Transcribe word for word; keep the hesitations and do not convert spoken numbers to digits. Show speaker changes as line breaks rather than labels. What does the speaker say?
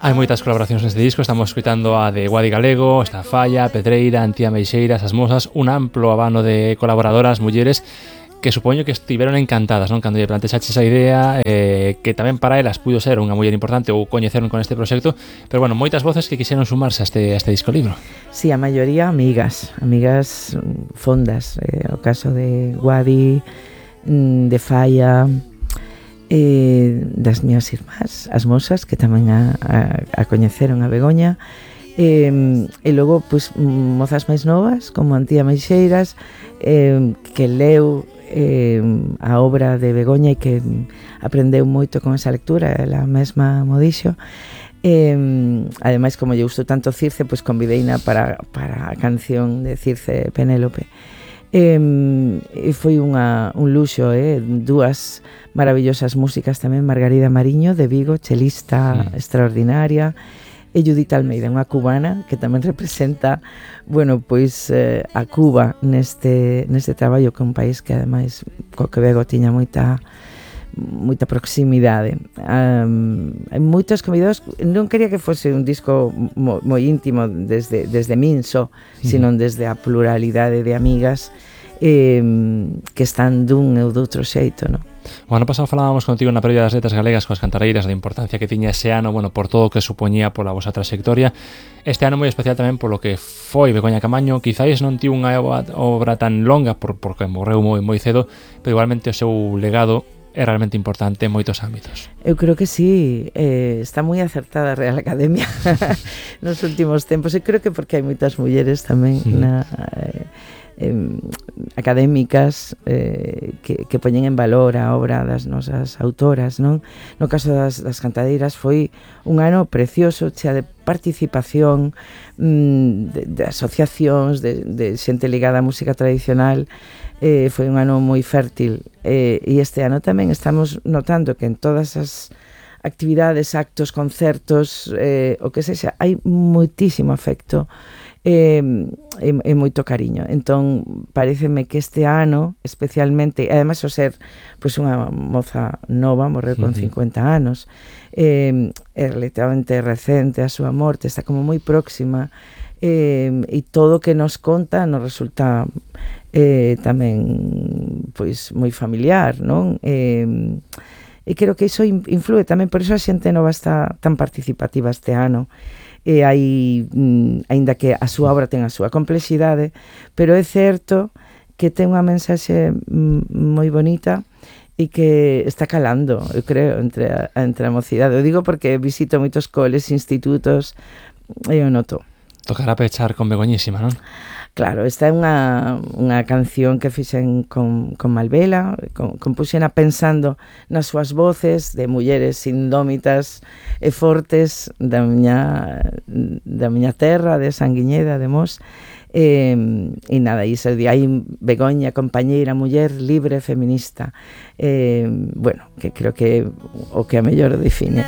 Hai moitas colaboracións neste disco, estamos escoitando a de Guadi Galego, está Falla, Pedreira, Antía Meixeiras, As Mosas, un amplo abano de colaboradoras, mulleres, que supoño que estiveron encantadas, non? Cando lle plantexaches a idea, eh, que tamén para elas puido ser unha muller importante ou coñeceron con este proxecto, pero bueno, moitas voces que quixeron sumarse a este, a este disco libro.
Sí, a maioría amigas, amigas fondas, eh, o caso de Guadi, de Falla, eh, das miñas irmás, as Mosas, que tamén a, a, a coñeceron a Begoña, eh, e logo pues, mozas máis novas como Antía Meixeiras, eh, que leu eh, a obra de Begoña e que aprendeu moito con esa lectura, ela mesma mo dixo. Eh, ademais, como lle gustou tanto Circe, pois convideina para, para a canción de Circe Penélope. Eh, e foi unha, un luxo, eh? Dúas maravillosas músicas tamén, Margarida Mariño de Vigo, chelista mm. extraordinaria, e Judith Almeida, unha cubana que tamén representa, bueno, pois eh, a Cuba neste, neste traballo, que é un país que ademais co Quebec tiña moita moita proximidade. Um, hai moitos convidados, non quería que fose un disco mo, moi íntimo desde, desde min só, mm. sino desde a pluralidade de amigas eh, que están dun ou doutro xeito, non?
O ano pasado falábamos contigo na previa das letras galegas coas cantareiras da importancia que tiña ese ano, bueno, por todo o que supoñía pola vosa trayectoria. Este ano moi especial tamén polo que foi Begoña Camaño, quizáis non tivo unha obra tan longa por, porque morreu moi moi cedo, pero igualmente o seu legado é realmente importante en moitos ámbitos.
Eu creo que sí, eh, está moi acertada a Real Academia nos últimos tempos, e creo que porque hai moitas mulleres tamén mm. na... Eh, Eh, académicas eh, que, que poñen en valor a obra das nosas autoras, non? No caso das, das cantadeiras foi un ano precioso, chea de participación, mm, de, de asociacións, de, de xente ligada á música tradicional. Eh, foi un ano moi fértil, eh, e este ano tamén estamos notando que en todas as actividades, actos, concertos, eh, o que sexa, hai moitísimo afecto e, e, e moito cariño. Entón, pareceme que este ano, especialmente, ademais o ser pois, unha moza nova, morreu con cincuenta anos, eh, é relativamente recente a súa morte, está como moi próxima, eh, e todo o que nos conta nos resulta eh, tamén pois moi familiar, non? Eh, e creo que iso influe tamén, por iso a xente nova está tan participativa este ano. E hai, mm, aínda que a súa obra ten a súa complexidade, pero é certo que ten unha mensaxe mm, moi bonita e que está calando, eu creo, entre a, entre a mocidade. Eu digo porque visito moitos coles, institutos, e eu noto.
Tocará pechar con Begoñísima, non?
Claro, esta é unha, unha canción que fixen con, con Malvela, con, compuxena pensando nas súas voces de mulleres indómitas e fortes da miña, da miña terra, de Sanguiñeda, de Mos, e, e nada, e se di aí Begoña, compañeira, muller libre, feminista, e, bueno, que creo que o que a mellor define.